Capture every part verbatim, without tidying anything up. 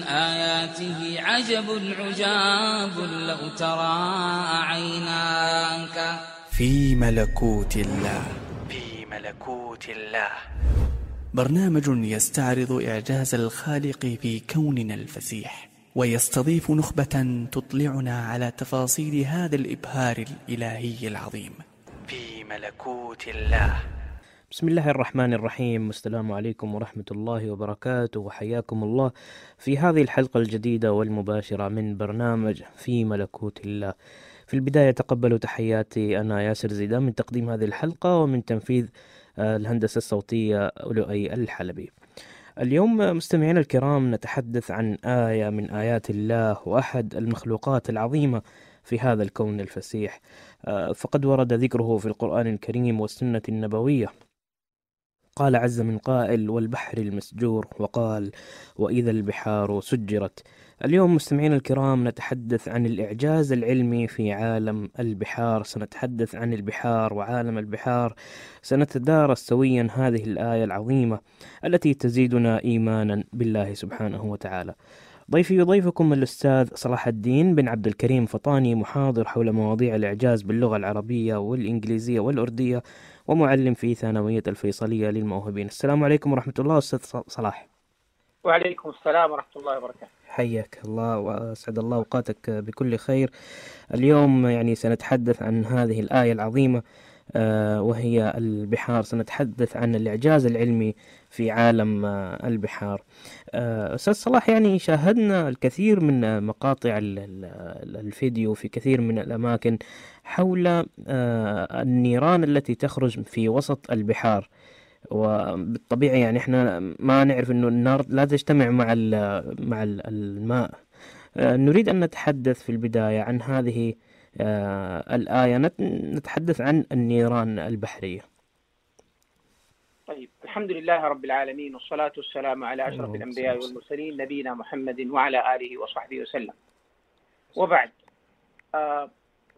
آياته عجب عجاب لو ترى عيناك. في ملكوت الله. في ملكوت الله، برنامج يستعرض إعجاز الخالق في كوننا الفسيح، ويستضيف نخبة تطلعنا على تفاصيل هذا الإبهار الإلهي العظيم. في ملكوت الله. بسم الله الرحمن الرحيم، والسلام عليكم ورحمة الله وبركاته، وحياكم الله في هذه الحلقة الجديدة والمباشرة من برنامج في ملكوت الله. في البداية تقبلوا تحياتي، أنا ياسر زيدان من تقديم هذه الحلقة ومن تنفيذ الهندسة الصوتية لؤي الحلبي. اليوم مستمعينا الكرام نتحدث عن آية من آيات الله وأحد المخلوقات العظيمة في هذا الكون الفسيح، فقد ورد ذكره في القرآن الكريم والسنة النبوية. قال عز من قائل: والبحر المسجور، وقال: وإذا البحار سجرت. اليوم مستمعينا الكرام نتحدث عن الإعجاز العلمي في عالم البحار، سنتحدث عن البحار وعالم البحار، سنتدارس سويا هذه الآية العظيمة التي تزيدنا إيمانا بالله سبحانه وتعالى. ضيفي وضيفكم الأستاذ صلاح الدين بن عبد الكريم فطاني، محاضر حول مواضيع الإعجاز باللغة العربية والإنجليزية والأردية، ومعلم في ثانوية الفيصلية للموهوبين. السلام عليكم ورحمة الله أستاذ صلاح. وعليكم السلام ورحمة الله وبركاته. حياك الله وأسعد الله أوقاتك بكل خير. اليوم يعني سنتحدث عن هذه الآية العظيمة وهي البحار، سنتحدث عن الإعجاز العلمي في عالم البحار. أستاذ صلاح، يعني شاهدنا الكثير من مقاطع الفيديو في كثير من الأماكن حول النيران التي تخرج في وسط البحار، وبالطبيعة يعني احنا ما نعرف انه النار لا تجتمع مع مع الماء. نريد ان نتحدث في البداية عن هذه الآية، نتحدث عن النيران البحرية. طيب، الحمد لله رب العالمين، والصلاة والسلام على أشرف الأنبياء والمرسلين، نبينا محمد وعلى آله وصحبه وسلم. وبعد،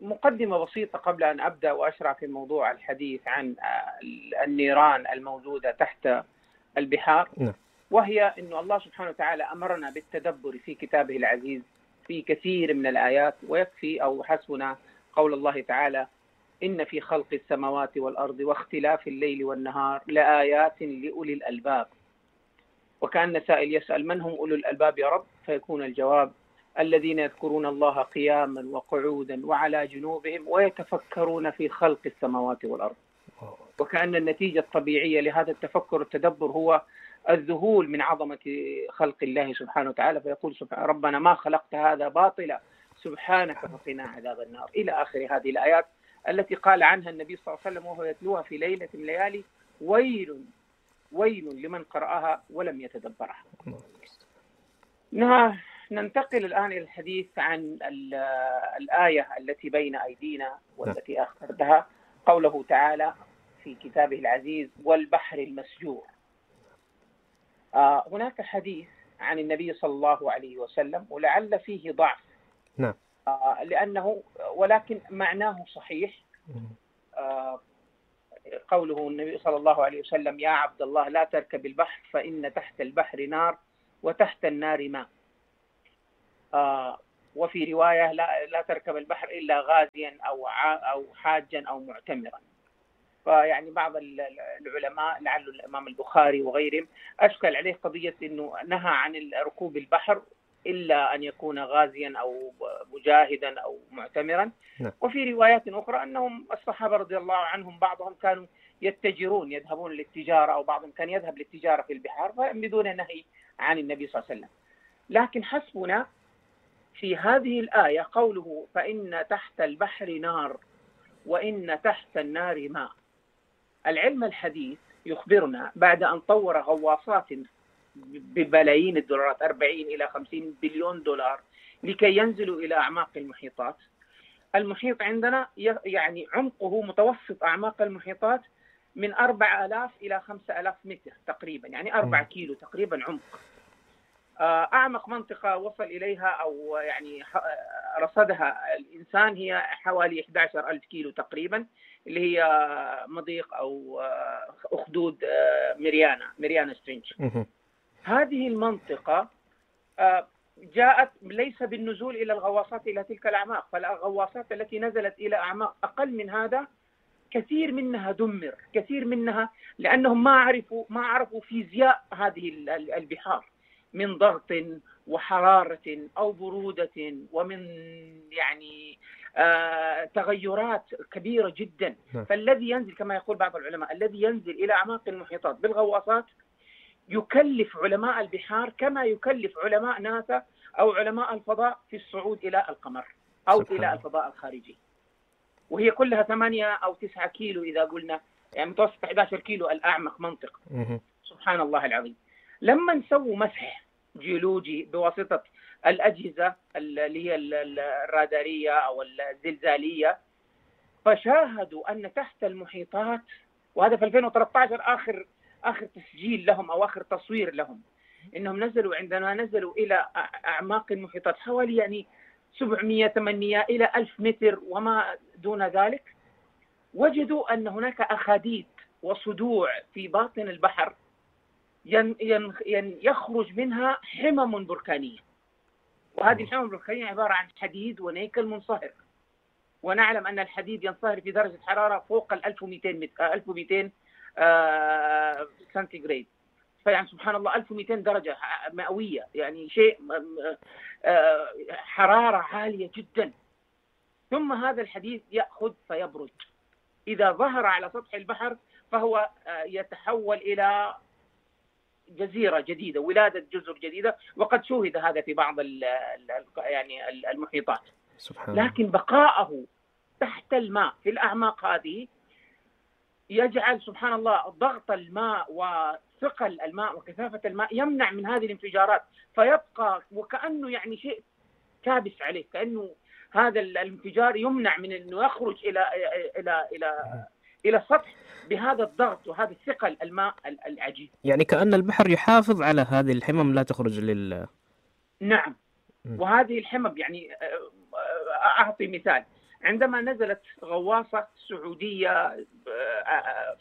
مقدمة بسيطة قبل أن أبدأ وأشرع في موضوع الحديث عن النيران الموجودة تحت البحار، وهي أن الله سبحانه وتعالى أمرنا بالتدبر في كتابه العزيز في كثير من الآيات، ويكفي أو حسبنا قول الله تعالى: إن في خلق السماوات والأرض واختلاف الليل والنهار لآيات لأولي الألباب. وكأن سائل يسأل: من هم أولو الألباب يا رب؟ فيكون الجواب: الذين يذكرون الله قياما وقعودا وعلى جنوبهم ويتفكرون في خلق السماوات والأرض. وكأن النتيجة الطبيعية لهذا التفكر والتدبر هو الذهول من عظمة خلق الله سبحانه وتعالى، فيقول سبحانه: ربنا ما خلقت هذا باطلا سبحانك فقنا عذاب النار، إلى آخر هذه الآيات التي قال عنها النبي صلى الله عليه وسلم وهو يتلوها في ليلة من الليالي: ويل ويل لمن قرأها ولم يتدبرها. ننتقل الآن إلى الحديث عن الآية التي بين أيدينا والتي أخذتها، قوله تعالى في كتابه العزيز: والبحر المسجور. آه هناك حديث عن النبي صلى الله عليه وسلم ولعل فيه ضعف، نعم، آه لأنه ولكن معناه صحيح. آه قوله النبي صلى الله عليه وسلم: يا عبد الله لا تركب البحر فإن تحت البحر نار وتحت النار ماء. آه وفي رواية: لا, لا تركب البحر إلا غازيا أو أو حاجا أو معتمرا. فيعني بعض العلماء لعل الإمام البخاري وغيرهم أشكل عليه قضية أنه نهى عن ركوب البحر إلا أن يكون غازيا أو مجاهدا أو معتمرا. نعم. وفي روايات أخرى أنهم الصحابة رضي الله عنهم بعضهم كانوا يتجرون، يذهبون للتجارة، أو بعضهم كان يذهب للتجارة في البحار بدون نهي عن النبي صلى الله عليه وسلم. لكن حسبنا في هذه الآية قوله: فإن تحت البحر نار وإن تحت النار ماء. العلم الحديث يخبرنا بعد أن طور غواصات ببلايين الدولارات، أربعين إلى خمسين بليون دولار، لكي ينزلوا إلى أعماق المحيطات. المحيط عندنا يعني عمقه متوسط أعماق المحيطات من أربعة آلاف إلى خمسة آلاف متر تقريبا، يعني أربعة كيلو تقريبا عمق. أعمق منطقة وصل إليها أو يعني رصدها الإنسان هي حوالي أحد عشر ألف كيلو تقريبا، اللي هي مضيق أو أخدود ميريانا ميريانا سترينج. هذه المنطقة جاءت ليس بالنزول إلى الغواصات إلى تلك الأعماق، فالغواصات التي نزلت إلى أعماق أقل من هذا كثير منها دمر، كثير منها لأنهم ما عرفوا ما عرفوا فيزياء هذه البحار من ضغط وحرارة أو برودة، ومن يعني آه تغيرات كبيرة جدا. فالذي ينزل كما يقول بعض العلماء الذي ينزل إلى أعماق المحيطات بالغواصات يكلف علماء البحار كما يكلف علماء ناسا أو علماء الفضاء في الصعود إلى القمر أو إلى الفضاء الخارجي، وهي كلها ثمانية أو تسعة كيلو إذا قلنا، يعني متوسط أحد عشر كيلو الأعمق منطقة. سبحان الله العظيم. لما نسوي مسح جيولوجي بواسطة الأجهزة اللي هي الرادارية أو الزلزالية، فشاهدوا أن تحت المحيطات، وهذا في ألفين وثلاثة عشر آخر آخر تسجيل لهم أو آخر تصوير لهم، إنهم نزلوا عندما نزلوا إلى أعماق المحيطات حوالي يعني سبعمئة ثمانمئة إلى ألف متر وما دون ذلك، وجدوا أن هناك أخاديد وصدوع في باطن البحر ين ين ين يخرج منها حمم بركانية، وهذه الحمم البركانية عبارة عن حديد ونيكل منصهر، ونعلم أن الحديد ينصهر في درجة حرارة فوق ال ألف ومئتين ألف ومئتين آه سنتيغراد، فيعني سبحان الله ألف ومئتين درجة مئوية، يعني شيء آه حرارة عالية جدا. ثم هذا الحديد يأخذ فيبرد، إذا ظهر على سطح البحر فهو آه يتحول إلى جزيرة جديدة، ولادة جزر جديدة، وقد شوهد هذا في بعض ال ال يعني المحيطات. سبحان لكن بقاءه تحت الماء في الأعماق هذه يجعل سبحان الله ضغط الماء وثقل الماء وكثافة الماء يمنع من هذه الانفجارات، فيبقى وكأنه يعني شيء كابس عليه، كأنه هذا الانفجار يمنع من أنه يخرج إلى إلى إلى إلى السطح بهذا الضغط وهذا الثقل الماء العجيب. يعني كأن البحر يحافظ على هذه الحمم لا تخرج لل. نعم. وهذه الحمم يعني أعطي مثال، عندما نزلت غواصة سعودية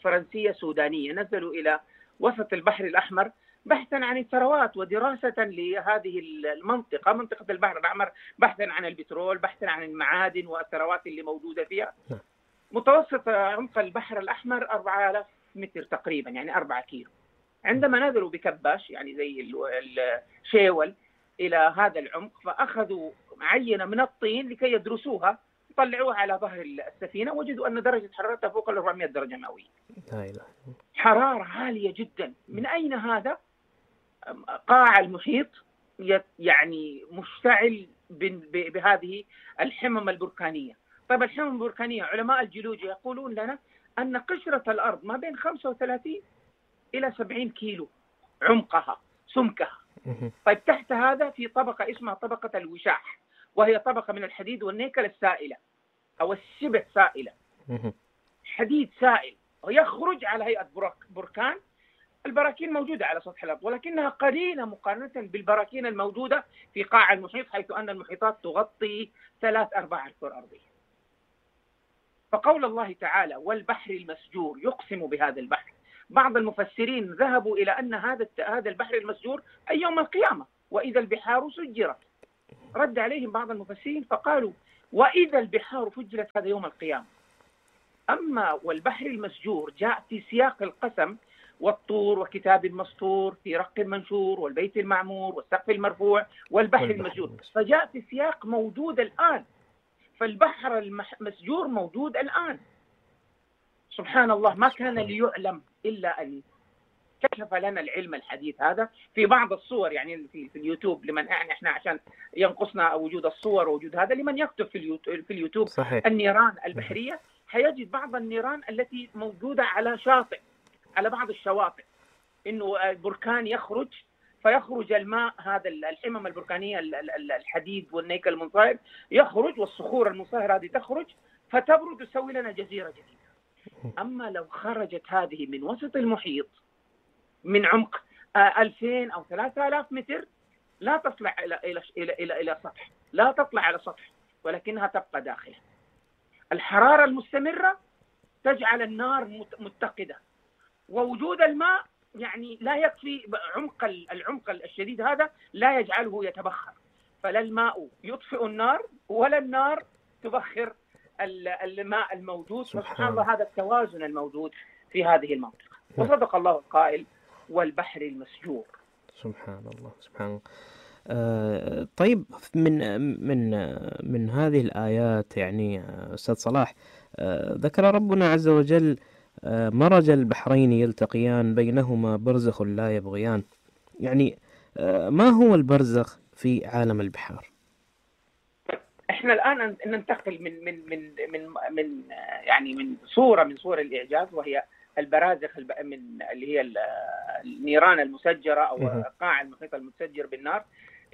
فرنسية سودانية نزلوا إلى وسط البحر الأحمر بحثا عن الثروات ودراسة لهذه المنطقة، منطقة البحر الأحمر، بحثا عن البترول، بحثا عن المعادن والثروات اللي موجودة فيها. متوسط عمق البحر الأحمر أربعة آلاف متر تقريبا، يعني أربعة كيلو. عندما نزلوا بكباش يعني زي الشيول إلى هذا العمق، فأخذوا عينة من الطين لكي يدرسوها، طلعوها على ظهر السفينة، وجدوا أن درجة حرارتها فوق ال أربعمئة درجة مئوية. حرارة عالية جدا. من أين هذا؟ قاع المحيط يعني مشتعل بهذه الحمم البركانية. طيب الحمم البركانية علماء الجيولوجيا يقولون لنا أن قشرة الأرض ما بين خمسة وثلاثين إلى سبعين كيلو عمقها سمكها. طيب تحت هذا في طبقة اسمها طبقة الوشاح، وهي طبقة من الحديد والنيكل السائلة أو الشبه سائلة، حديد سائل ويخرج على هيئة بركان. البراكين موجودة على سطح الأرض ولكنها قليلة مقارنة بالبراكين الموجودة في قاع المحيط، حيث أن المحيطات تغطي ثلاث أرباع الكرة الأرضية. فقول الله تعالى والبحر المسجور يقسم بهذا البحر، بعض المفسرين ذهبوا إلى أن هذا هذا البحر المسجور أي يوم القيامة، وإذا البحار سجرت. رد عليهم بعض المفسرين فقالوا وإذا البحار فجرت هذا يوم القيامة. أما والبحر المسجور جاء في سياق القسم، والطور وكتاب مسطور في رق منشور والبيت المعمور والسقف المرفوع والبحر المسجور، فجاء في سياق موجود الآن، فالبحر المسجور موجود الآن. سبحان الله، ما كان ليعلم إلا أن كشف لنا العلم الحديث هذا في بعض الصور، يعني في, في اليوتيوب، لمن يعني احنا عشان ينقصنا وجود الصور ووجود هذا، لمن يكتب في اليوتيوب, في اليوتيوب صحيح. النيران البحرية حيجد بعض النيران التي موجودة على شاطئ، على بعض الشواطئ، إنه بركان يخرج فيخرج الماء، هذا الحمم البركانية الحديد والنيكل المنصهر يخرج، والصخور المنصهرة هذه تخرج فتبرد وتسوي لنا جزيرة جديدة. أما لو خرجت هذه من وسط المحيط من عمق ألفين أو ثلاثة آلاف متر لا تطلع إلى إلى إلى إلى إلى سطح، لا تطلع على سطح، ولكنها تبقى داخله. الحرارة المستمرة تجعل النار متقدة، ووجود الماء يعني لا يكفي، عمق العمق الشديد هذا لا يجعله يتبخر، فلا الماء يطفئ النار ولا النار تبخر الماء الموجود. سبحان الله، هذا التوازن الموجود في هذه المنطقة. وصدق الله القائل والبحر المسجور. سبحان الله سبحان الله. آه طيب، من من من هذه الآيات يعني أستاذ صلاح، آه ذكر ربنا عز وجل آه مرج البحرين يلتقيان بينهما برزخ لا يبغيان. يعني آه ما هو البرزخ في عالم البحار؟ احنا الآن ننتقل من من من من من يعني من صورة من صور الإعجاز، وهي البرازخ من اللي هي النيران المسجرة أو قاع المحيط المتسجر بالنار،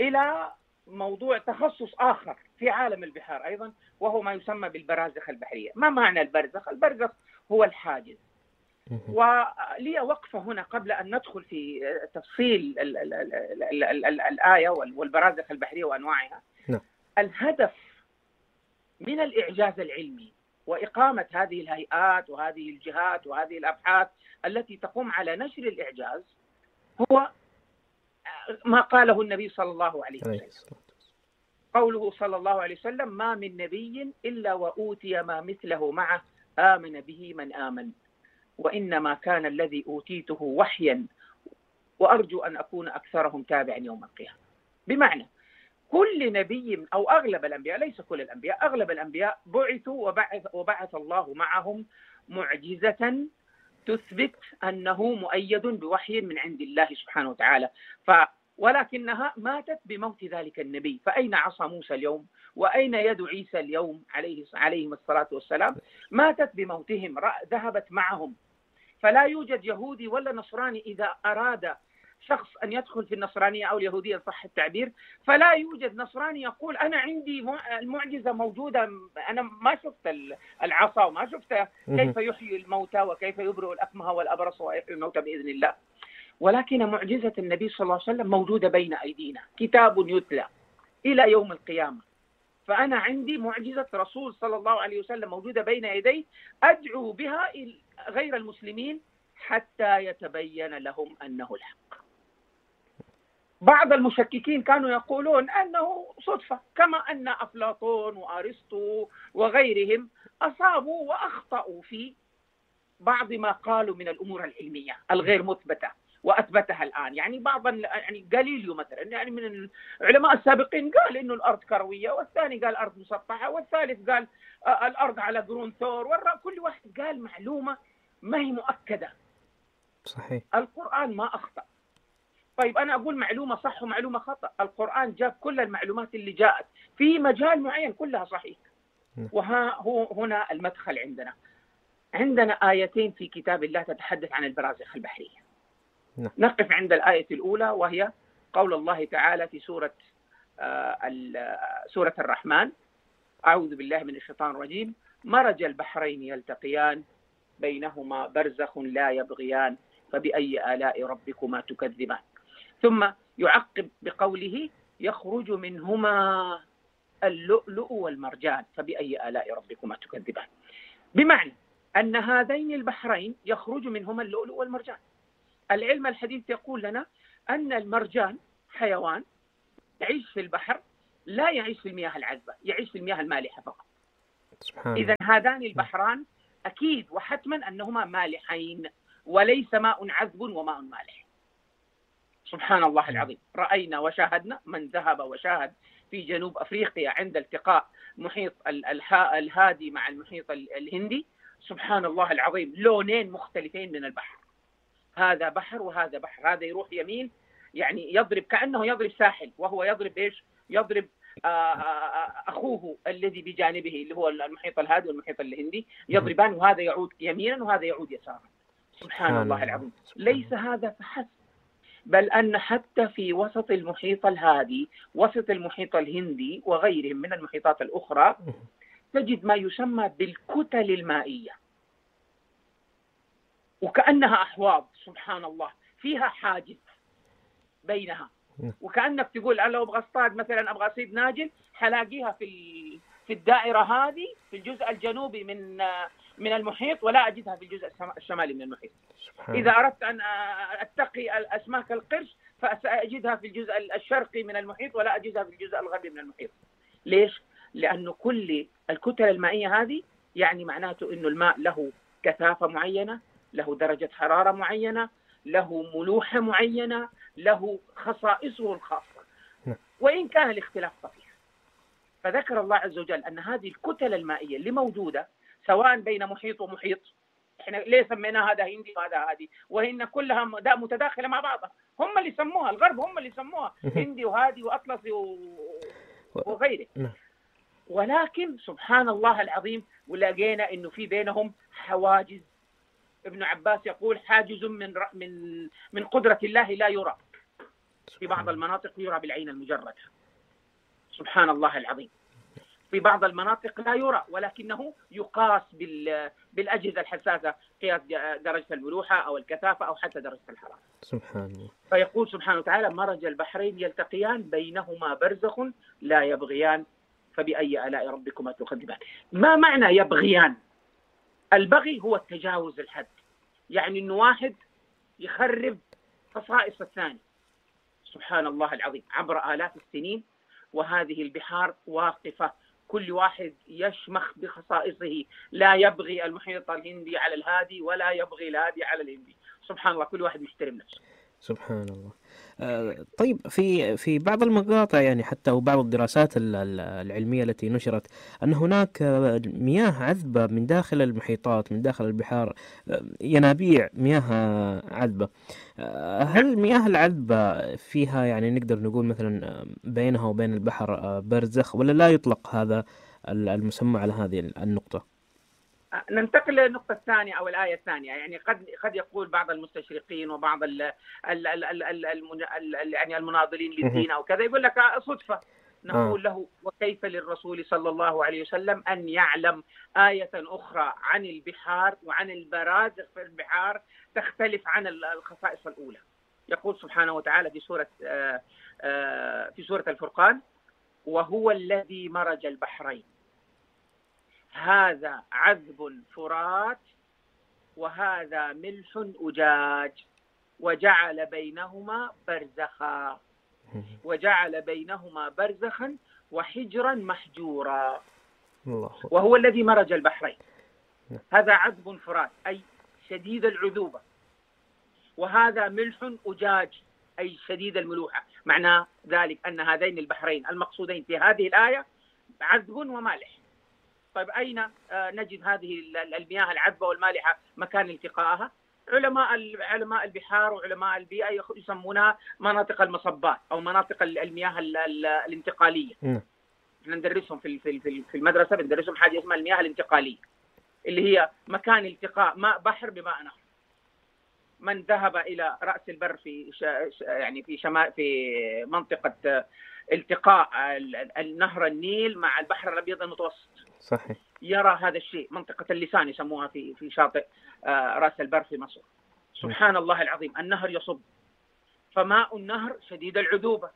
إلى موضوع تخصص آخر في عالم البحار أيضا، وهو ما يسمى بالبرازخ البحرية. ما معنى البرزخ؟ البرزخ هو الحاجز. ولي وقفة هنا قبل أن ندخل في تفصيل ال ال ال ال ال ال الآية والبرازخ البحرية وأنواعها. الهدف من الإعجاز العلمي وإقامة هذه الهيئات وهذه الجهات وهذه الأبحاث التي تقوم على نشر الإعجاز هو ما قاله النبي صلى الله عليه وسلم. قوله صلى الله عليه وسلم: ما من نبي إلا وأوتي ما مثله معه آمن به من آمن، وإنما كان الذي أوتيته وحيا، وأرجو أن أكون أكثرهم تابعا يوم القيامة. بمعنى كل نبي أو أغلب الأنبياء، ليس كل الأنبياء، أغلب الأنبياء بعثوا وبعث, وبعث الله معهم معجزة تثبت أنه مؤيد بوحي من عند الله سبحانه وتعالى. ف ولكنها ماتت بموت ذلك النبي. فأين عصا موسى اليوم؟ وأين يد عيسى اليوم عليه عليهم الصلاة والسلام؟ ماتت بموتهم، ذهبت معهم. فلا يوجد يهودي ولا نصراني إذا أراد شخص أن يدخل في النصرانية أو اليهودية صح التعبير، فلا يوجد نصراني يقول أنا عندي المعجزة موجودة، أنا ما شفت العصا وما شفت كيف يحيي الموتى وكيف يبرئ الأكمه والأبرص ويحيي الموتى بإذن الله. ولكن معجزة النبي صلى الله عليه وسلم موجودة بين أيدينا، كتاب يتلى إلى يوم القيامة. فأنا عندي معجزة رسول صلى الله عليه وسلم موجودة بين يدي، أدعو بها غير المسلمين حتى يتبين لهم أنه الحق. بعض المشككين كانوا يقولون أنه صدفة، كما أن أفلاطون وأرسطو وغيرهم أصابوا وأخطأوا في بعض ما قالوا من الأمور العلمية الغير مثبتة وأثبتها الآن. يعني بعض يعني غاليليو مثلا، يعني من العلماء السابقين، قال إنه الأرض كروية، والثاني قال الأرض مسطحة، والثالث قال الأرض على قرون ثور، كل واحد قال معلومة ما هي مؤكدة. صحيح. القرآن ما أخطأ. طيب أنا أقول معلومة صح ومعلومة خطأ. القرآن جاب كل المعلومات اللي جاءت في مجال معين كلها صحيح. وها هو هنا المدخل عندنا. عندنا آيتين في كتاب الله تتحدث عن البرازخ البحرية. نقف عند الآية الأولى، وهي قول الله تعالى في سورة سورة الرحمن: أعوذ بالله من الشيطان الرجيم، مرج البحرين يلتقيان بينهما برزخ لا يبغيان فبأي آلاء ربكما تكذبان. ثم يعقب بقوله: يخرج منهما اللؤلؤ والمرجان فبأي آلاء ربكما تكذبان. بمعنى أن هذين البحرين يخرج منهما اللؤلؤ والمرجان. العلم الحديث يقول لنا أن المرجان حيوان يعيش في البحر، لا يعيش في المياه العذبة، يعيش في المياه المالحة فقط. إذن هذان البحران أكيد وحتما أنهما مالحين، وليس ماء عذب وماء مالح. سبحان الله العظيم. رأينا وشاهدنا، من ذهب وشاهد في جنوب أفريقيا عند التقاء محيط الهادي مع المحيط الهندي، سبحان الله العظيم، لونين مختلفين من البحر. هذا بحر وهذا بحر، هذا يروح يمين يعني يضرب كأنه يضرب ساحل، وهو يضرب إيش؟ يضرب أخوه الذي بجانبه اللي هو المحيط الهادي والمحيط الهندي، يضربان، وهذا يعود يمينا وهذا يعود يسارا. سبحان الله العظيم. ليس هذا فحسب، بل أن حتى في وسط المحيط الهادي، وسط المحيط الهندي وغيرهم من المحيطات الأخرى، تجد ما يسمى بالكتل المائية، وكأنها أحواض. سبحان الله، فيها حاجز بينها، وكأنك تقول أنا لو أبغى اصطاد مثلا، أبغى أصيد ناجل، حلاقيها في في الدائرة هذه في الجزء الجنوبي من من المحيط، ولا أجدها في الجزء الشمالي من المحيط. إذا أردت أن أتقي الأسماك القرش فسأجدها في الجزء الشرقي من المحيط ولا أجدها في الجزء الغربي من المحيط. ليش؟ لأنه كل الكتل المائية هذه يعني معناته أنه الماء له كثافة معينة، له درجة حرارة معينة، له ملوحة معينة، له خصائصه الخاصة، وإن كان الاختلاف طفيف. فذكر الله عز وجل أن هذه الكتل المائية اللي موجودة سواء بين محيط ومحيط، احنا ليه سمينا هذا هندي وهذا هادي، وهن كلها متداخلة مع بعضها، هم اللي سموها الغرب، هم اللي سموها هندي وهادي وأطلسي وغيره. ولكن سبحان الله العظيم ولقينا انه في بينهم حواجز. ابن عباس يقول حاجز من من من قدرة الله لا يرى، في بعض المناطق يرى بالعين المجردة، سبحان الله العظيم. في بعض المناطق لا يرى ولكنه يقاس بالأجهزة الحساسة، قياس درجة الملوحة أو الكثافة أو حتى درجة الحرارة. سبحان الله. فيقول سبحانه وتعالى مرج البحرين يلتقيان بينهما برزخ لا يبغيان فبأي آلاء ربكما تكذبان. ما معنى يبغيان؟ البغي هو التجاوز الحد، يعني إنه واحد يخرب خصائص الثاني. سبحان الله العظيم، عبر آلاف السنين وهذه البحار واقفة، كل واحد يشمخ بخصائصه، لا يبغي المحيط الهندي على الهادي ولا يبغي الهادي على الهندي. سبحان الله، كل واحد يحترم نفسه. سبحان الله. آه طيب، في في بعض المقاطع يعني حتى وبعض الدراسات العلمية التي نشرت أن هناك مياه عذبة من داخل المحيطات، من داخل البحار، ينابيع مياه عذبة. آه هل المياه العذبة فيها يعني نقدر نقول مثلا بينها وبين البحر برزخ، ولا لا يطلق هذا المسمى على هذه النقطة؟ ننتقل للنقطة الثانية أو الآية الثانية. يعني قد قد يقول بعض المستشرقين وبعض ال ال ال ال ال ال يعني المناضلين للدين أو كذا يقول لك صدفة. نقول له وكيف للرسول صلى الله عليه وسلم أن يعلم آية أخرى عن البحار وعن البرازخ في البحار تختلف عن الخصائص الأولى. يقول سبحانه وتعالى في سورة في سورة الفرقان: وهو الذي مرج البحرين هذا عذب فرات وهذا ملح أجاج وجعل بينهما برزخا وجعل بينهما برزخا وحجرا محجورا. وهو الذي مرج البحرين، هذا عذب فرات أي شديد العذوبة، وهذا ملح أجاج أي شديد الملوحة. معنى ذلك أن هذين البحرين المقصودين في هذه الآية عذب ومالح. طيب أين نجد هذه المياه العذبة والمالحة مكان التقائها؟ علماء علماء البحار وعلماء البيئة يسمونها مناطق المصبات أو مناطق المياه الانتقالية. احنا ندرسهم في في المدرسة، بندرسهم حاجة اسمها المياه الانتقالية، اللي هي مكان التقاء ماء بحر بماء نهر. من ذهب إلى رأس البر في يعني في شمال في منطقة التقاء النهر النيل مع البحر الأبيض المتوسط، صحيح، يرى هذا الشيء. منطقة اللسان يسموها في في شاطئ رأس البر في مصر. سبحان الله العظيم، النهر يصب، فماء النهر شديد العذوبة،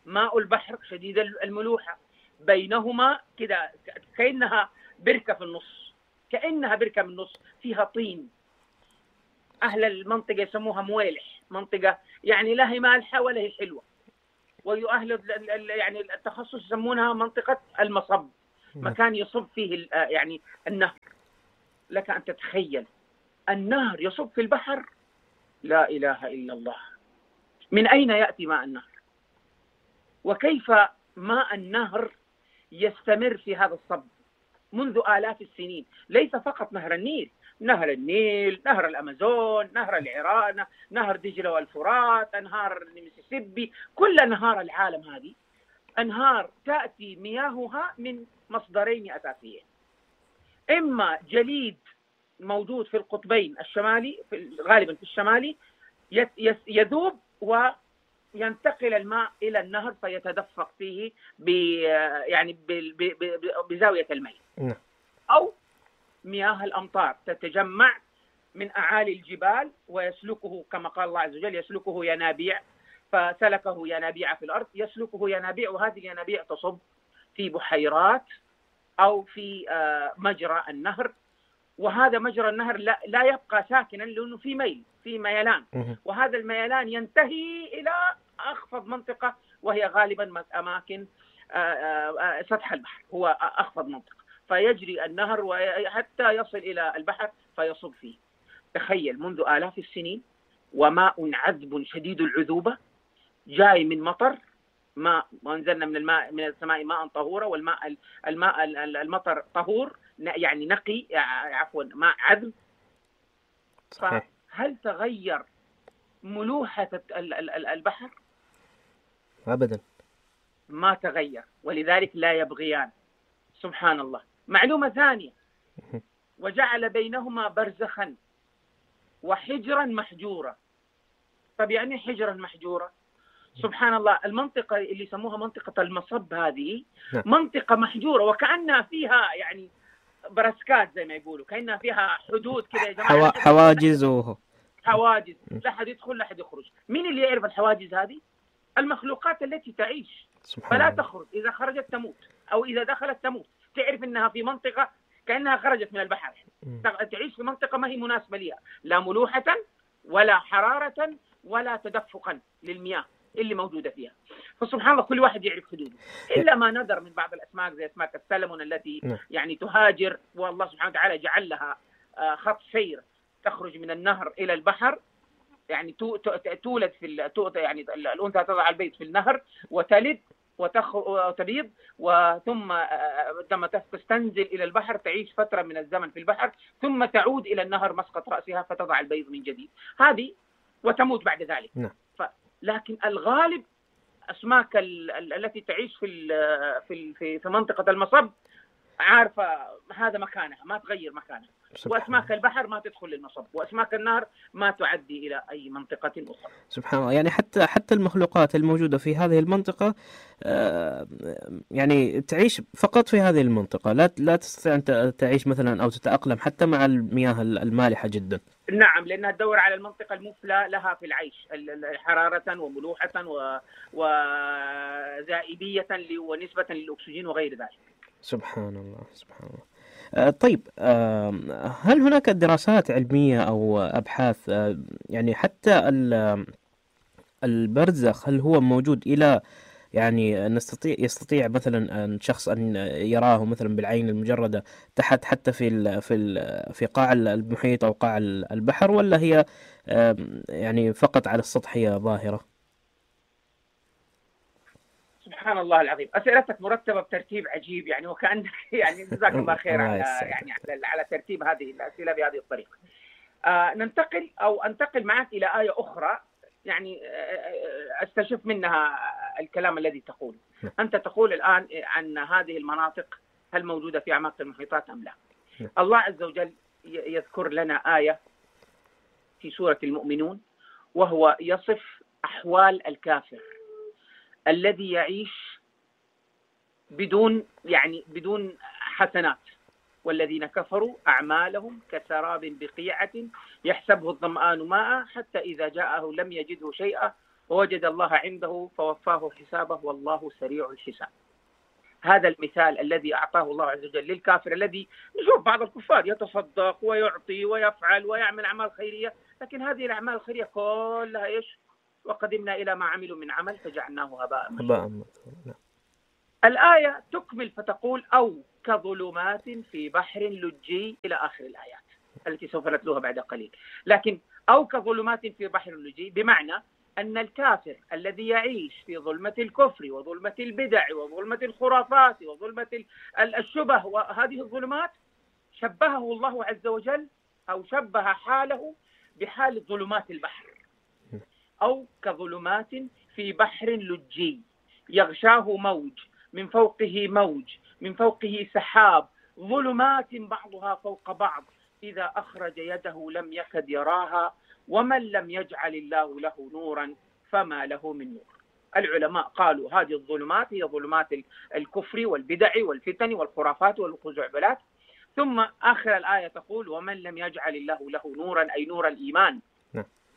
ماء البحر شديد الملوحة، بينهما كده كأنها بركة في النص، كأنها بركة من النص فيها طين. أهل المنطقة يسموها مويلح، منطقة يعني لا هي مالحة ولا هي حلوة. وأهل يعني التخصص يسمونها منطقة المصب، مكان يصب فيه يعني النهر. لك أن تتخيل النهر يصب في البحر، لا إله إلا الله. من أين يأتي ماء النهر؟ وكيف ماء النهر يستمر في هذا الصب منذ آلاف السنين؟ ليس فقط نهر النيل، نهر النيل، نهر الأمازون، نهر العران، نهر دجلة والفرات، أنهار الميسيسيبي، كل أنهار العالم هذه أنهار تأتي مياهها من مصدرين أساسيين: إما جليد موجود في القطبين الشمالي، في غالبا في الشمالي، يذوب وينتقل الماء إلى النهر فيتدفق فيه ب يعني بزاوية الميل، أو مياه الأمطار تتجمع من أعالي الجبال ويسلكه كما قال الله عز وجل يسلكه ينابيع، فسلكه ينابيع في الأرض، يسلكه ينابيع، وهذه الينابيع تصب في بحيرات أو في مجرى النهر. وهذا مجرى النهر لا, لا يبقى ساكنا لأنه في ميل، في ميلان، وهذا الميلان ينتهي إلى أخفض منطقة، وهي غالبا أماكن سطح البحر هو أخفض منطقة، فيجري النهر حتى يصل إلى البحر فيصب فيه. تخيل منذ آلاف السنين وماء عذب شديد العذوبة جاي من مطر، ماء وانزلنا من الماء من السماء ماء طهورا، والماء الماء المطر طهور يعني نقي، عفوا ماء عذب. فهل تغير ملوحة البحر؟ أبدا ما تغير، ولذلك لا يبغيان. سبحان الله. معلومة ثانية، وجعل بينهما برزخا وحجرا محجورا. طب يعني حجرا محجورا؟ سبحان الله، المنطقة اللي يسموها منطقة المصب هذه منطقة محجورة، وكأنها فيها يعني برسكات زي ما يقولوا، كأنها فيها حدود كذا يا جماعة، حواجز و... حواجز، لا حد يدخل لا حد يخرج. مين اللي يعرف الحواجز هذه؟ المخلوقات التي تعيش، فلا تخرج، إذا خرجت تموت أو إذا دخلت تموت. تعرف أنها في منطقة كأنها خرجت من البحر، تعيش في منطقة ما هي مناسبة لها، لا ملوحة ولا حرارة ولا تدفقا للمياه اللي موجودة فيها. فسبحان الله كل واحد يعرف حدوده، إلا ما ندر من بعض الأسماك زي أسماك السلمون التي يعني تهاجر، والله سبحانه وتعالى جعل لها خط سير تخرج من النهر إلى البحر، يعني تولد في يعني الأنثى تضع البيض في النهر وتلد وتبيض، وثم عندما تستنزل إلى البحر تعيش فترة من الزمن في البحر، ثم تعود إلى النهر مسقط رأسها فتضع البيض من جديد، هذه وتموت بعد ذلك. ف... لكن الغالب أسماك التي تعيش في في في منطقة المصب عارفة هذا مكانها، ما تغير مكانها، وأسماك البحر ما تدخل للمصب، وأسماك النهر ما تعدي إلى أي منطقة أخرى. سبحان الله. يعني حتى حتى المخلوقات الموجودة في هذه المنطقة يعني تعيش فقط في هذه المنطقة، لا لا تستطيع أن تعيش مثلا أو تتأقلم حتى مع المياه المالحة جدا. نعم، لأنها تدور على المنطقة المثلى لها في العيش، حرارة وملوحة وذائبية ونسبة للأكسجين وغير ذلك. سبحان الله سبحان الله. آه طيب، آه هل هناك دراسات علمية أو أبحاث آه يعني حتى البرزخ هل هو موجود إلى يعني نستطيع يستطيع مثلا أن شخص أن يراه مثلا بالعين المجردة تحت حتى في ال في ال في قاع المحيط أو قاع البحر، ولا هي آه يعني فقط على السطحية ظاهرة؟ سبحان الله العظيم، أسئلتك مرتبة بترتيب عجيب يعني، وكأنك يعني جزاك الله خير على يعني على, على ترتيب هذه الأسئلة بهذه الطريقة. آه ننتقل أو أنتقل معك إلى آية أخرى يعني استشف منها الكلام الذي تقوله. أنت تقول الآن عن هذه المناطق هل موجودة في أعماق المحيطات أم لا؟ الله عز وجل يذكر لنا آية في سورة المؤمنون، وهو يصف أحوال الكافر الذي يعيش بدون يعني بدون حسنات. والذين كفروا أعمالهم كسراب بقيعة يحسبه الظمآن ماء حتى إذا جاءه لم يجده شيئا ووجد الله عنده فوفاه حسابه والله سريع الحساب. هذا المثال الذي أعطاه الله عز وجل للكافر الذي نشوف بعض الكفار يتصدق ويعطي ويفعل ويعمل أعمال خيرية، لكن هذه الأعمال الخيرية كلها إيش؟ وقدمنا إلى ما عملوا من عمل فجعلناه هباء منثورا. الآية تكمل فتقول أو كظلمات في بحر لجي إلى آخر الآيات التي سوف نتلوها بعد قليل. لكن أو كظلمات في بحر لجي بمعنى أن الكافر الذي يعيش في ظلمة الكفر وظلمة البدع وظلمة الخرافات وظلمة الشبه وهذه الظلمات شبهه الله عز وجل أو شبه حاله بحال ظلمات البحر. أو كظلمات في بحر لجي يغشاه موج من فوقه موج من فوقه سحاب ظلمات بعضها فوق بعض إذا أخرج يده لم يكد يراها ومن لم يجعل الله له نورا فما له من نور. العلماء قالوا هذه الظلمات هي ظلمات الكفر والبدع والفتن والخرافات والخزعبلات. ثم آخر الآية تقول ومن لم يجعل الله له نورا أي نور الإيمان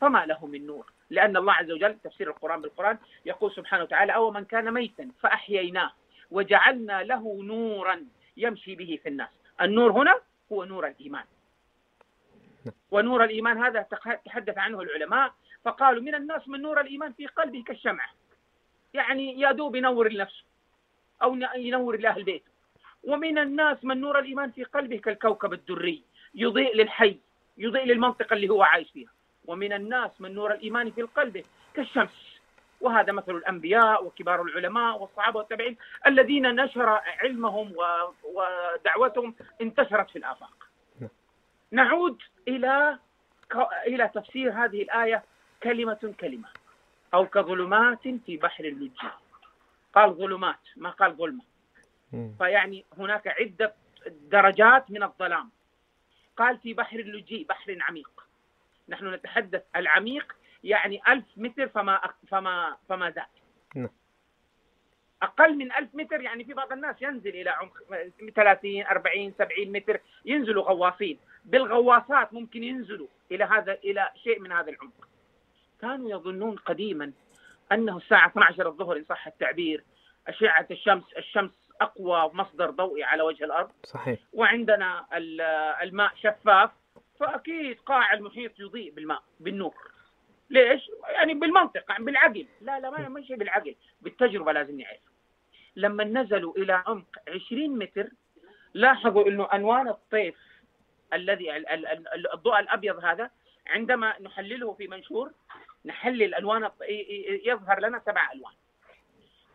فما له من نور، لأن الله عز وجل تفسير القرآن بالقرآن يقول سبحانه وتعالى أو من كان ميتا فأحييناه وجعلنا له نورا يمشي به في الناس. النور هنا هو نور الإيمان، ونور الإيمان هذا تحدث عنه العلماء فقالوا من الناس من نور الإيمان في قلبه كالشمعة، يعني يا دوب ينور لنفسه أو ينور لأهل بيته. ومن الناس من نور الإيمان في قلبه كالكوكب الدري، يضيء للحي، يضيء للمنطقة اللي هو عايش فيها. ومن الناس من نور الإيمان في القلب كالشمس. وهذا مثل الأنبياء وكبار العلماء والصحابة والتابعين الذين نشر علمهم ودعوتهم انتشرت في الآفاق. نعود إلى إلى تفسير هذه الآية كلمة كلمة، أو كظلمات في بحر اللجي. قال ظلمات ما قال ظلمة، فيعني هناك عدة درجات من الظلام. قال في بحر اللجي، بحر عميق. نحن نتحدث العميق يعني ألف متر فما فما فما زاد. أقل من ألف متر يعني في بعض الناس ينزل إلى عمق ثلاثين أربعين سبعين متر، ينزلوا غواصين بالغواصات ممكن ينزلوا إلى هذا إلى شيء من هذا العمق. كانوا يظنون قديما أنه الساعة اثنتي عشرة الظهر إن صح التعبير أشعة الشمس الشمس أقوى مصدر ضوئي على وجه الأرض. صحيح. وعندنا الماء شفاف، فأكيد قاع المحيط يضيء بالماء بالنور. ليش؟ يعني بالمنطق بالعقل. لا لا ما ماشي بالعقل، بالتجربة لازم نعرف. لما نزلوا إلى عمق عشرين متر لاحظوا إنه ألوان الطيف الذي الضوء الأبيض هذا عندما نحلله في منشور نحلل ألوان يظهر لنا سبع ألوان.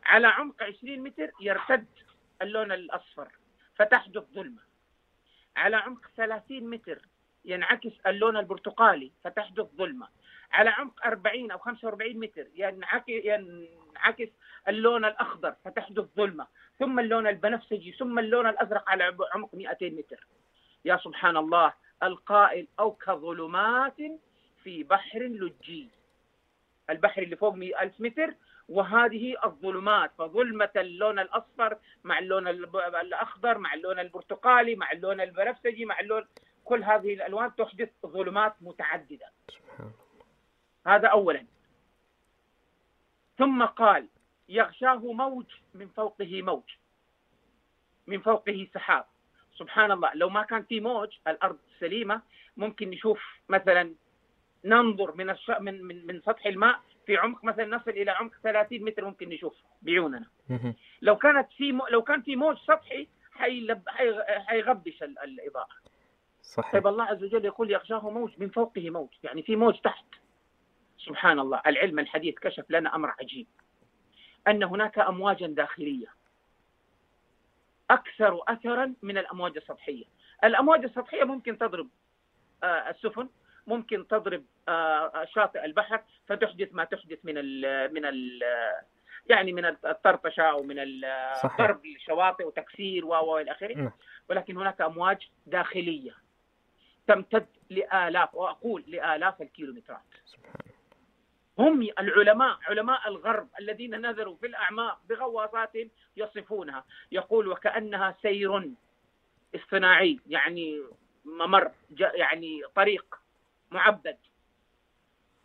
على عمق عشرين متر يرتد اللون الأصفر فتحدث ظلمة. على عمق ثلاثين متر ينعكس اللون البرتقالي فتحدث ظلمة. على عمق أربعين أو خمسة وأربعين متر ينعكس اللون الأخضر فتحدث ظلمة، ثم اللون البنفسجي، ثم اللون الأزرق على عمق مئتين متر. يا سبحان الله، القائل أو كظلمات في بحر لجي، البحر اللي فوق ألف متر وهذه الظلمات، فظلمة اللون الأصفر مع اللون الأخضر مع اللون البرتقالي مع اللون البنفسجي مع اللون، كل هذه الألوان تحدث ظلمات متعددة. هذا أولا. ثم قال يغشاه موج من فوقه موج، من فوقه سحاب. سبحان الله، لو ما كان في موج الأرض سليمة ممكن نشوف مثلا ننظر من الش... من من من سطح الماء في عمق مثلا نصل إلى عمق ثلاثين متر ممكن نشوف بعيوننا. لو كانت في م... لو كان في موج سطحي حيلب... حي... حيغبش ال... الإضاءة. صحيح. طيب الله عز وجل يقول يغشاه موج من فوقه موج، يعني في موج تحت. سبحان الله، العلم الحديث كشف لنا أمر عجيب، أن هناك أمواجا داخلية أكثر أثرا من الأمواج السطحية. الأمواج السطحية ممكن تضرب آه السفن، ممكن تضرب آه شاطئ البحر فتحدث ما تحدث من ال من ال يعني من الطرطشة أو من ضرب الشواطئ وتكسير والى آخره. ولكن هناك أمواج داخلية تمتد لآلاف، وأقول لآلاف الكيلومترات. هم العلماء علماء الغرب الذين نذروا في الأعماق بغواصاتهم يصفونها، يقول وكأنها سير اصطناعي، يعني ممر يعني طريق معبد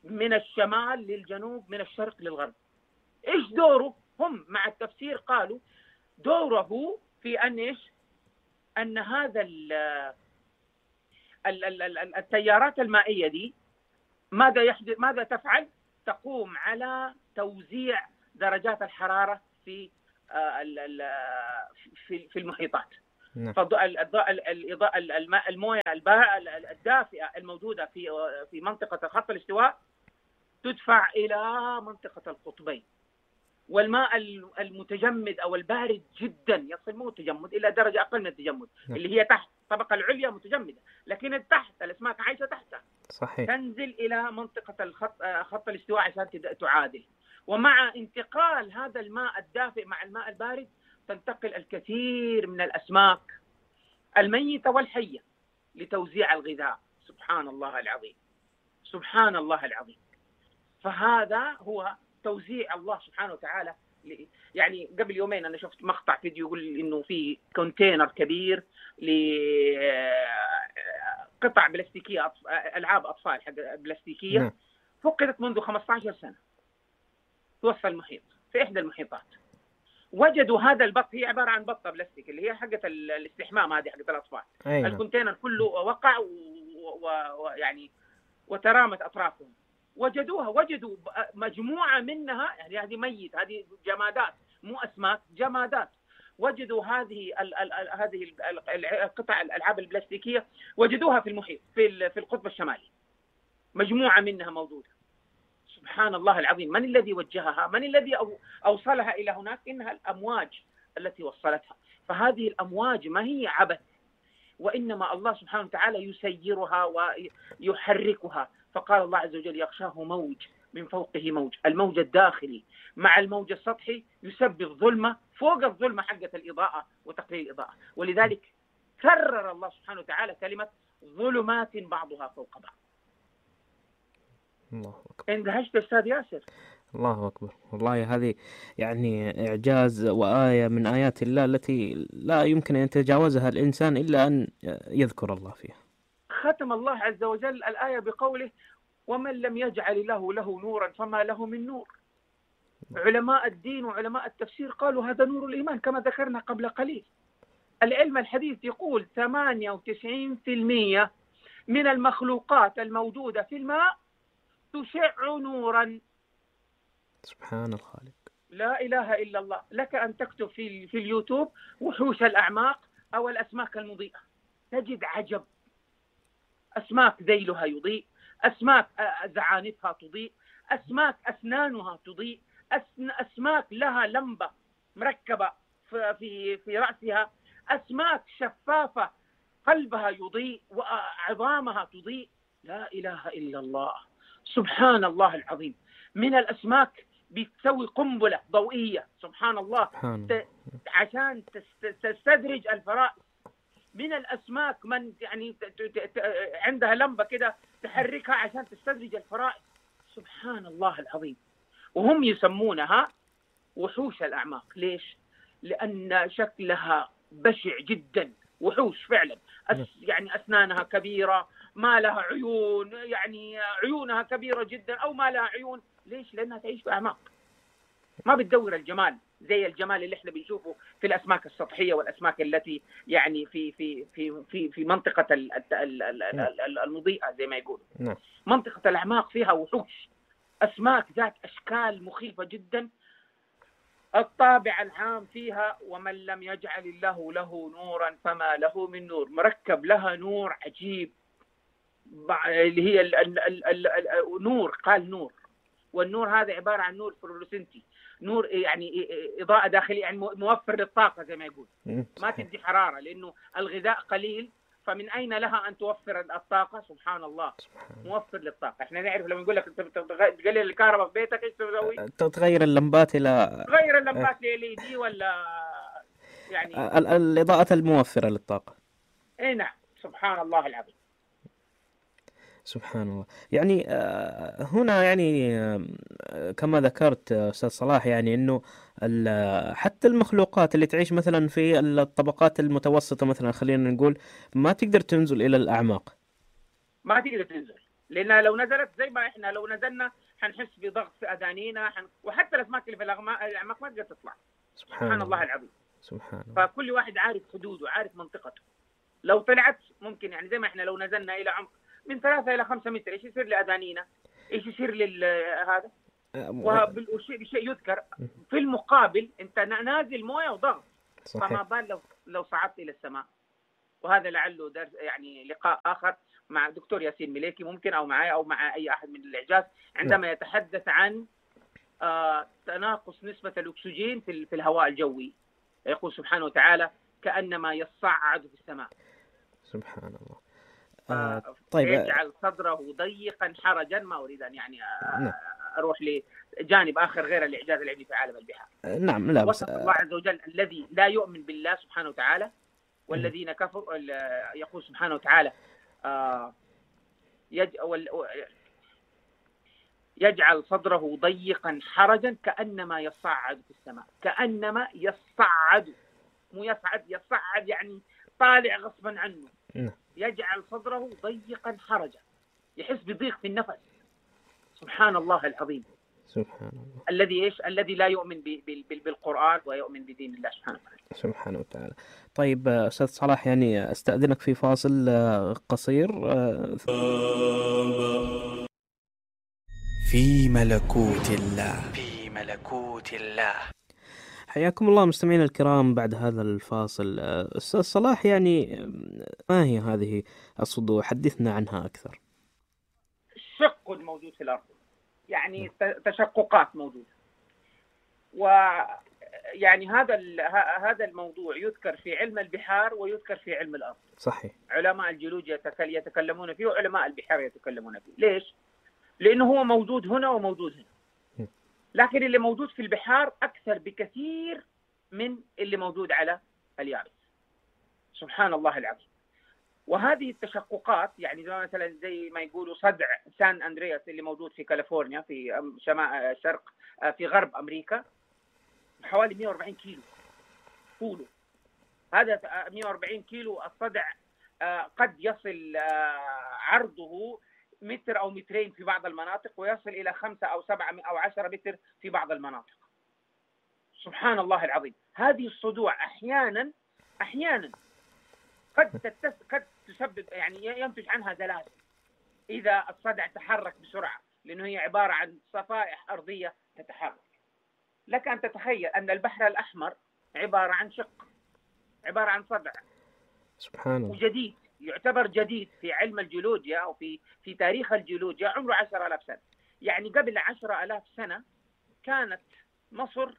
من الشمال للجنوب من الشرق للغرب. إيش دوره؟ هم مع التفسير قالوا دوره في أن إيش؟ أن هذا ال ال ال التيارات المائية دي ماذا يحدث؟ ماذا تفعل؟ تقوم على توزيع درجات الحرارة في في في المحيطات. فالإضاءة الماء الموية الدافئة الموجودة في في منطقة خط الاستواء تدفع إلى منطقة القطبين، والماء المتجمد أو البارد جدا يصل مو تجمد إلى درجة أقل من التجمد اللي هي تحت الطبقة العليا متجمدة، لكن التحت الأسماك عايشة تحتها. صحيح. تنزل إلى منطقة الخط خط الاستواء عشان تعادل. ومع انتقال هذا الماء الدافئ مع الماء البارد تنتقل الكثير من الأسماك الميتة والحية لتوزيع الغذاء. سبحان الله العظيم، سبحان الله العظيم. فهذا هو توزيع الله سبحانه وتعالى. يعني قبل يومين أنا شفت مقطع فيديو يقول إنه في كونتينر كبير لقطع بلاستيكية، ألعاب أطفال حق بلاستيكية فقدت منذ خمسة عشر سنة في وسط المحيط في إحدى المحيطات. وجدوا هذا البط، هي عبارة عن بطة بلاستيك اللي هي حقة الاستحمام هذه حقة الأطفال. أيوة. الكونتينر كله وقع ويعني و... و... وترامت أطرافهم، وجدوها، وجدوا مجموعة منها، يعني هذه ميت، هذه جمادات مو أسماك، جمادات. وجدوا هذه ال ال ال هذه القطع الألعاب البلاستيكية وجدوها في المحيط في في القطب الشمالي، مجموعة منها موجودة. سبحان الله العظيم، من الذي وجهها؟ من الذي أوصلها إلى هناك؟ إنها الأمواج التي وصلتها. فهذه الأمواج ما هي عبث، وإنما الله سبحانه وتعالى يسيرها ويحركها. فقال الله عز وجل: يغشاه موج من فوقه موج. الموج الداخلي مع الموج السطحي يسبب ظلمة فوق الظلمة حقة الإضاءة وتقليل الإضاءة. ولذلك كرر الله سبحانه وتعالى كلمة ظلمات بعضها فوق بعض. الله أكبر. اندهشت أستاذ ياسر؟ الله أكبر، والله هذه يعني إعجاز وآية من آيات الله التي لا يمكن أن يتجاوزها الإنسان إلا أن يذكر الله فيها. ختم الله عز وجل الآية بقوله: ومن لم يجعل الله له نورا فما له من نور. علماء الدين وعلماء التفسير قالوا هذا نور الإيمان كما ذكرنا قبل قليل. العلم الحديث يقول ثمانية وتسعين بالمئة من المخلوقات الموجودة في الماء تشع نورا. سبحان الخالق، لا إله إلا الله. لك أن تكتب في في اليوتيوب وحوش الأعماق أو الأسماك المضيئة، تجد عجب. أسماك ذيلها يضيء، أسماك زعانفها تضيء، أسماك أسنانها تضيء، أسماك لها لمبة مركبة في في رأسها، أسماك شفافة قلبها يضيء وعظامها تضيء. لا إله إلا الله، سبحان الله العظيم. من الأسماك بتسوي قنبلة ضوئية، سبحان الله، ت... عشان تستدرج الفرائس. من الأسماك من يعني ت... ت... ت... عندها لمبة كده تحركها عشان تستدرج الفرائس. سبحان الله العظيم. وهم يسمونها وحوش الأعماق. ليش؟ لأن شكلها بشع جدا، وحوش فعلا. أس... يعني أسنانها كبيرة، ما لها عيون، يعني عيونها كبيرة جدا أو ما لها عيون. ليش؟ لأنها تعيش في أعماق، ما بتدور الجمال زي الجمال اللي احنا بنشوفه في الأسماك السطحية والأسماك التي يعني في في في في في منطقة المضيئة زي ما يقولوا. منطقة الأعماق فيها وحوش، أسماك ذات أشكال مخيفة جدا. الطابع العام فيها: ومن لم يجعل الله له نورا فما له من نور. مركب لها نور عجيب، اللي هي ال ال ال ال ال نور. قال نور، والنور هذا عبارة عن نور فلورسنتي، نور يعني إضاءة داخلية، يعني موفر للطاقة زي ما يقول، ما تدي حرارة لأنه الغذاء قليل، فمن أين لها أن توفر الطاقة؟ سبحان الله، موفر للطاقة. احنا نعرف لما نقول لك تقلل الكهرباء في بيتك ايش تسوي؟ تغير اللمبات إلى تغير اللمبات ل إل إي دي ولا يعني الإضاءة الموفرة للطاقة. اي نعم، سبحان الله العظيم. سبحان الله. يعني هنا يعني كما ذكرت أستاذ صلاح، يعني أنه حتى المخلوقات اللي تعيش مثلا في الطبقات المتوسطة مثلا، خلينا نقول، ما تقدر تنزل إلى الأعماق، ما تقدر تنزل، لأنها لو نزلت زي ما إحنا لو نزلنا حنحس بضغط في أذانينا، حن... وحتى الأسماك اللي في الأعماق ما تقدر تطلع. سبحان, سبحان الله العظيم. سبحان الله. فكل واحد عارف حدوده، عارف منطقته. لو طلعت ممكن يعني زي ما إحنا لو نزلنا إلى عمق من ثلاثة إلى خمسة متر، إيش يصير لأذانينا؟ إيش يصير لهذا؟ وبالشيء يذكر في المقابل أنت نازل موية وضغط، فما بال لو لو صعدت إلى السماء. وهذا لعله درس يعني لقاء آخر مع دكتور ياسين مليكي ممكن، أو معي أو مع أي أحد من الإعجاز، عندما يتحدث عن آه تناقص نسبة الأكسجين في في الهواء الجوي. يقول سبحانه وتعالى: كأنما يصعد في السماء. سبحان الله. آه طيب، يجعل صدره ضيقا حرجا. ما أريد أن يعني آه أروح لجانب آخر غير الإعجاز العلمي في عالم البحار. نعم، لا بس وصف الله عز وجل الذي لا يؤمن بالله سبحانه وتعالى والذين كفروا. يقول سبحانه وتعالى: آه يجعل صدره ضيقا حرجا كأنما يصعد في السماء. كأنما يصعد، مو يصعد، يصعد يعني طالع غصبا عنه. يجعل صدره ضيقا حرجا، يحس بضيق في النفس. سبحان الله العظيم. سبحان الله. الذي ايش؟ الذي لا يؤمن بالقرآن ويؤمن بدين الله سبحانه وتعالى. سبحانه وتعالى. طيب أستاذ صلاح، يعني أستأذنك في فاصل قصير. في ملكوت الله. في ملكوت الله. حياكم الله مستمعينا الكرام. بعد هذا الفاصل أستاذ صلاح، يعني ما هي هذه الصدوع؟ حدثنا عنها أكثر. الشق الموجود في الأرض، يعني تشققات موجودة، ويعني هذا هذا الموضوع يذكر في علم البحار ويذكر في علم الأرض. صحيح. علماء الجيولوجيا يتكلمون فيه وعلماء البحار يتكلمون فيه. ليش؟ لأنه هو موجود هنا وموجود هنا، لكن اللي موجود في البحار أكثر بكثير من اللي موجود على اليابس. سبحان الله العظيم. وهذه التشققات يعني مثلا زي ما يقولوا صدع سان أندرياس اللي موجود في كاليفورنيا في شمال شرق في غرب أمريكا، حوالي مئة وأربعين كيلو طوله. هذا مئة وأربعين كيلو الصدع قد يصل عرضه متر أو مترين في بعض المناطق، ويصل إلى خمسة أو سبعة أو عشرة متر في بعض المناطق. سبحان الله العظيم. هذه الصدوع أحيانا أحيانا قد تتس... قد تسبب يعني ينتج عنها زلازل إذا الصدع تحرك بسرعة، لأنه هي عبارة عن صفائح أرضية تتحرك. لك أن تتخيل أن البحر الأحمر عبارة عن شق، عبارة عن صدع. سبحان الله. وجديد، يعتبر جديد في علم الجيولوجيا أو في في تاريخ الجيولوجيا، عمره عشرة آلاف سنة. يعني قبل عشرة آلاف سنة كانت مصر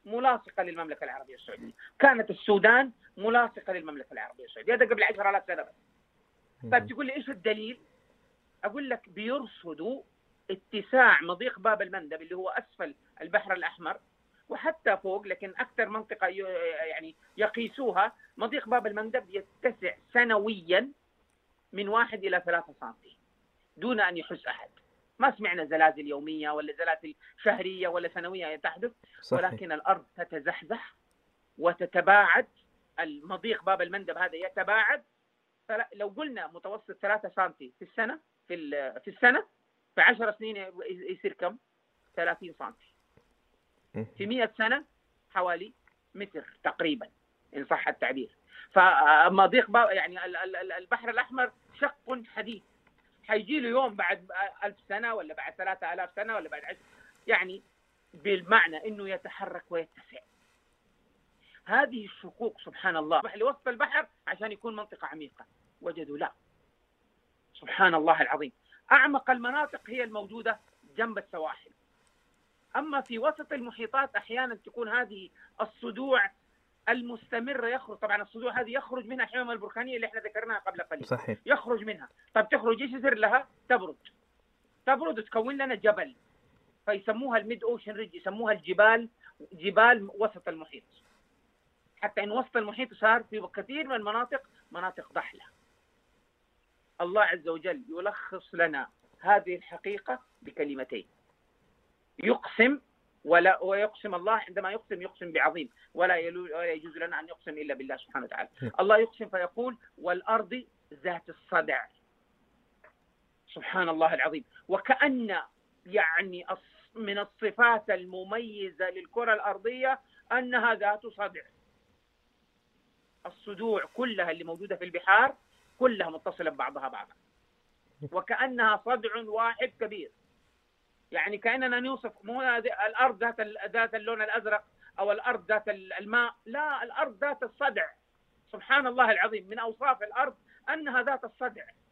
ملاصقة للمملكة العربية السعودية، كانت السودان ملاصقة للمملكة العربية السعودية. هذا قبل عشرة آلاف سنة بس. طيب تقول لي إيش الدليل؟ أقول لك بيرصدوا اتساع مضيق باب المندب اللي هو أسفل البحر الأحمر وحتى فوق، لكن أكثر منطقة يعني يقيسوها مضيق باب المندب يتسع سنويا من واحد إلى ثلاثة سنتي دون أن يحس أحد. ما سمعنا زلازل يومية ولا زلازل شهرية ولا سنوية تحدث. صحيح. ولكن الأرض تتزحزح وتتباعد، المضيق باب المندب هذا يتباعد. لو قلنا متوسط ثلاثة سنتي في السنة في في السنة في عشر سنين يصير كم؟ ثلاثين سنتي. في مئة سنة حوالي متر تقريبا إن صح التعبير. فمضيق باب يعني البحر الأحمر شق حديث، حيجي له يوم بعد ألف سنة ولا بعد ثلاثة آلاف سنة ولا بعد عشر، يعني بالمعنى إنه يتحرك ويتسع. هذه الشقوق سبحان الله لوسط البحر عشان يكون منطقة عميقة، وجدوا لا. سبحان الله العظيم. أعمق المناطق هي الموجودة جنب السواحل. أما في وسط المحيطات أحيانا تكون هذه الصدوع المستمرة يخرج. طبعا الصدوع هذه يخرج منها الحمم البركانية اللي احنا ذكرناها قبل قليل. صحيح. يخرج منها. طب تخرج ايش يصير لها؟ تبرد. تبرد وتكون لنا جبل، فيسموها الميد اوشن ريج، يسموها الجبال، جبال وسط المحيط. حتى ان وسط المحيط صار في كثير من المناطق مناطق ضحلة. الله عز وجل يلخص لنا هذه الحقيقة بكلمتين: يقسم ولا ويقسم الله عندما يقسم يقسم بعظيم، ولا يجوز لنا أن يقسم إلا بالله سبحانه وتعالى. الله يقسم فيقول: والأرض ذات الصدع. سبحان الله العظيم. وكأن يعني من الصفات المميزة للكرة الأرضية أنها ذات صدع. الصدوع كلها اللي موجودة في البحار كلها متصلة ببعضها بعضا، وكأنها صدع واحد كبير. يعني كأننا نوصف مو الأرض ذات ذات اللون الأزرق أو الأرض ذات الماء، لا، الأرض ذات الصدع. سبحان الله العظيم. من أوصاف الأرض أنها ذات الصدع،